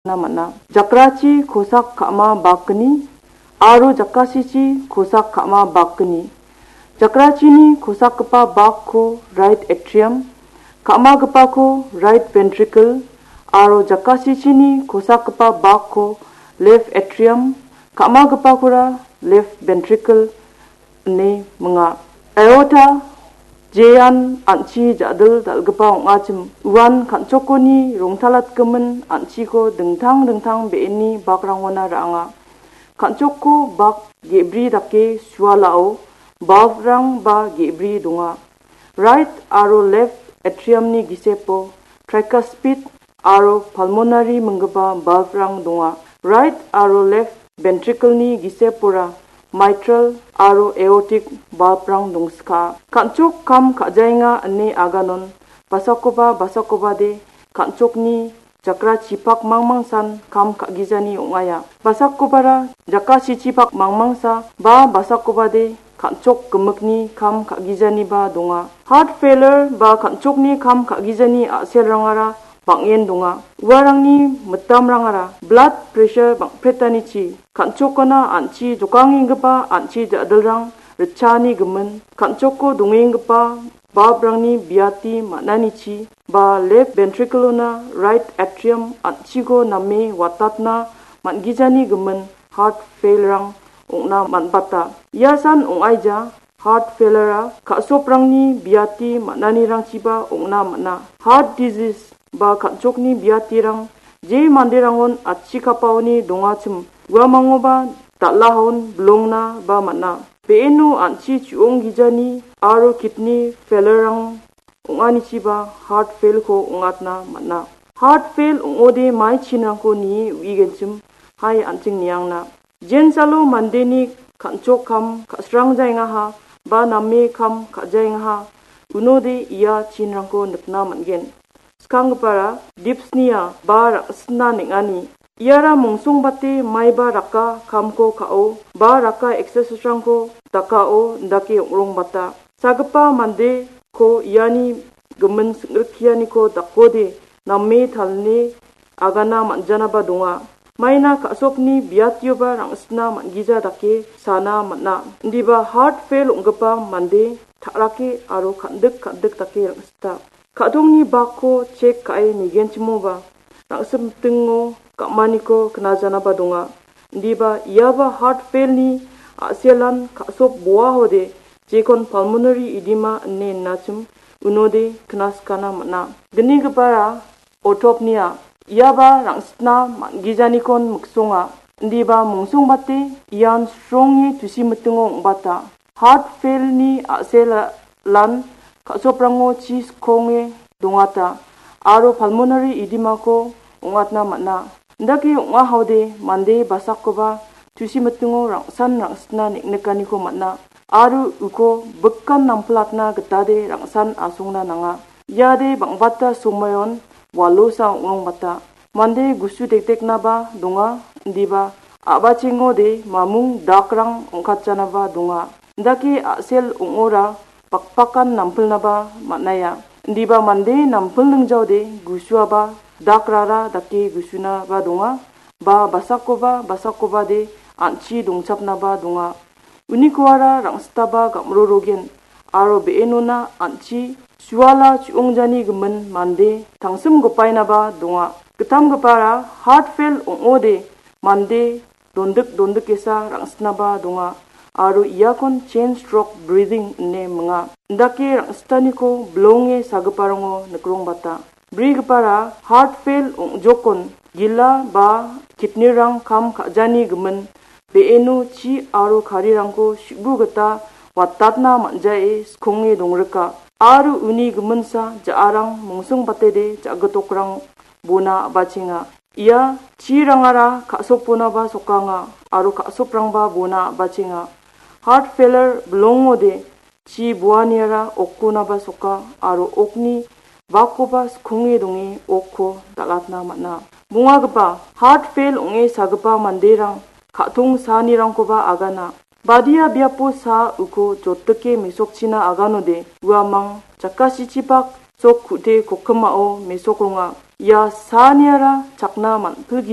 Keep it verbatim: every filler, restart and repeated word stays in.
nikna man·a. Jakrachi kosak ka·ma bakgni aro jakasichi kosak ka·ma bakgni. Jakrachini kosakgipa bakko right atrium, ka·magipako right ventricle aro jakasichini kosakgipa bakko left atrium, ka·magipakora left ventricle ine minga. Aorta jean an·chi ja·dil dal·gipa ong·achim uan kan·chokkoni rongtalatgimin an·chiko dingtang dingtang be·eni bakrangona ra·anga. Kan·chokko bak ge·bri dake sualao valve-rang ba ge·bri donga. Right aro left atrium-ni gisepo tricuspid aro pulmonary minggipa valve-rang donga. Right aro left ventricle-ni gisepora mitral aro aortic valve-rang dongska. Kan·chok kam ka·jaenga ine aganon basakoba basakobade kan·chokni jakrachipak mangmangsan kam ka·gijani ong·aia. Basakobara jakasichipak mangmangsa ba basakobade kan·chok gimikni kam ka·gijaniba donga. Heart failure ba kan·chokni kam ka·gijani a·selrangara bang·en donga. Uarangni mitamrangara blood pressure bang·pretanichi, kan·chokona an·chi jokangenggipa an·chi ja·dilrang ritchaani gimin, kan·choko dongenggipa valve-rangni biati man·anichi, ba left ventricle-ona right atrium an·chiko name watatna man·gijani gimin heart fail-rang ong·na man·bata. Iasan ong·aija heart failure-a ka·soprangni biati man·anirangchiba ong·na man·a. Heart disease ba kan·chokni biatirang je manderangon achikapaoni dongachim uamangoba dal·ahaon bilongna ba man·a. Be·eno an·chi chu·onggijani aro kidney failure-rang ong·anichiba heart fail-ko ong·atna man·a. Heart fail ong·ode mai chinrangko nie uigenchim, hai an·ching niangna. Jensalo mandeni kan·chok kam ka·srangjaengaha ba name kam ka·jaengaha, unode ia chinrangko nikna man·gen. Skanggipara dyspnea ba rang·sitna neng·ani. Iara mongsongbate maiba raka kamko ka·o ba raka exercise-rangko dakao indake ong·rongbata. Sagipa mandeko iani gimin sing·rikgianiko dakode name talni agana man·janaba donga. Maina ka·sokni biatioba rang·sitna man·gija dake sana man·a. Indiba heart fail ong·gipa mande ta·rake aro kan·dik kan·dik dake rang·sita. Ka·tongni bakko chek ka·e nigenchimoba, rang·simtingo ga·maniko knajanaba donga. Indiba iaba heart fail-ni a·selan ka·sop boahode jekon pulmonary edema ine innachim unode knaskana man·a. Gnigipara autopnea, iaba rang·sitna man·gijanikon miksonga. Indiba mongsongbate ian sronge tusi mitingo ong·bata. Heart fail-ni a·selan ka·soprango chi skonge dongata aro pulmonary edema-ko ong·atna man·a. Indake ong·ahaode mande basakoba tusi mitingo rang·san rang·sitna neng·nikaniko man·a aro uko bikan nampilatna gitade rang·san asongna nanga. Iade bang·bata somoion walosa ong·rongbata. Mande gusu dekdeknaba donga, indiba a·bachengode mamung dakrang ong·katjanaba donga. Indake a·sel ong·ora bakbakan nampilnaba man·aia. Indiba mande nampilningjaode gusuaba dakrara dake gusunaba donga, ba basakoba basakobade an·chi dongchapnaba donga. Unikoara rang·sitaba gam·rorogen aro be·enona an·chi suala chu·ongjani gimin mande tangsim gopainaba donga. Gitamgipara heart fail ong·ode mande dondik dondikesa rang·sitnaba donga aro iakon chain stroke breathing ine minga. Indake rang·sitaniko bilonge sagiparango nikrongbata. Brigipara heart fail ong·jokon gila ba kidney-rang kam ka·jani gimin be·eno chi aro karirangko su·bu gita watatna man·jae skonge dongrika aro uni giminsa ja·arang mongsongbatede ja·gitokrang bona a·bachenga. Ia chirangara ka·soponaba sokanga aro ka·soprangba bona a·bachenga. Heart failure bilongode chi boaniara okkonaba soka aro okni bakkoba skonge donge okko dal·atna man·a. Bongagipa heart fail ong·e sagipa manderang ka·tong saanirangkoba agana. Badia biapo saa uko jotdike mesokchina aganode uamang jakasichipak sok ku·te kokkimao mesokronga. Ia saaniara chakna man·pilgi